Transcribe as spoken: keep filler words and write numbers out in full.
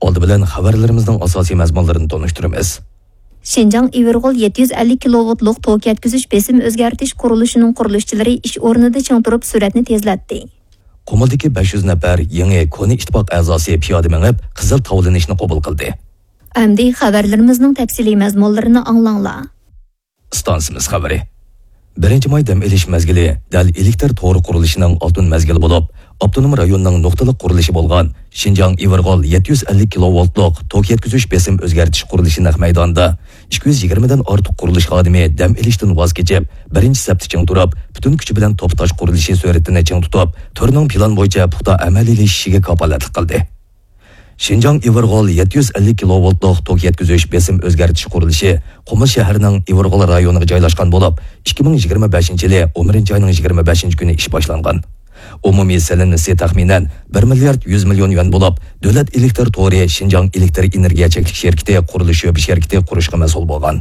ئالدى بىلەن خەۋەرلىرىمىزنىڭ ئاساسىي مەزمۇنلىرىنى تونۇشتۇرىمىز. شىنجاڭ ئىۋىرغول يەتتە يۈز ئەللىك كىلوۋولتلۇق توك يەتكۈزۈش بېسىم ئۆزگەرتىش قۇرۇلۇشىنىڭ قۇرۇلۇشچىلىرى ئىش ئورنىدا چىڭ تۇرۇپ، سۈرئەتنى تېزلەتتى. قۇمۇلدىكى بەش يۈز نەپەر يېڭى كونا ئىتتىپاق ئەزاسى پىيادە مېڭىپ، قىزىل تاۋلىنىشنى قوبۇل قىلدى. ئەمدى خەۋەرلىرىمىزنىڭ تەپسىلىي مەزمۇنلىرىنى ئاڭلاڭلار. ئىستانسىمىز خەۋىرى. بىرىنچى ماي دەم ئېلىش مەزگىلى دەل ئېلېكتر تورى قۇرۇلۇشىنىڭ ئالتۇن مەزگىلى بولۇپ، ئاپتونوم رايوننىڭ نۇقتىلىق قۇرۇلۇشى بولغان شىنجاڭ ئىۋىرغول يەتتە يۈز ئەللىك كىلوۋولتلۇق توك يەتكۈزۈش بېسىم ئۆزگەرتىش قۇرۇلۇشى نەق مەيدانىدا ئىككى يۈز يىگىرمىدىن ئارتۇق قۇرۇلۇش خادىمى دەم ئېلىشتىن ۋاز كېچىپ، بىرىنچى سەپتە چىڭ تۇرۇپ، پۈتۈن كۈچى بىلەن توپ تاش قۇرۇلۇشى سۈرئىتىنى چىڭ تۇتۇپ، تۈرنىڭ پىلان بويىچە پۇختا ئەمەلىيلىشىشىگە كاپالەتلىك قىلدى. شىنجاڭ ئىۋىرغول يەتتە يۈز ئەللىك كىلوۋولتلۇق توك يەتكۈزۈش بېسىم ئۆزگەرتىش قۇرۇلۇشى قۇمۇل شەھىرىنىڭ ئىۋىرغول رايونىغا جايلاشقان بولۇپ، ئىككى مىڭ يىگىرمە بەشىنچى يىلى ئون بىرىنچى ئاينىڭ يىگىرمە بەشىنچى كۈنى ئىش باشلانغان. ئومۇمىي سېلىنمىسى تەخمىنەن بىر مىليارد يۈز مىليون يۈەن بولۇپ، دۆلەت ئېلېكتر تورى شىنجاڭ ئېلېكتر ئېنېرگىيە چەكلىك شىركىتى قۇرۇلۇش شۆبە شىركىتى قۇرۇشقا مەسئۇل بولغان.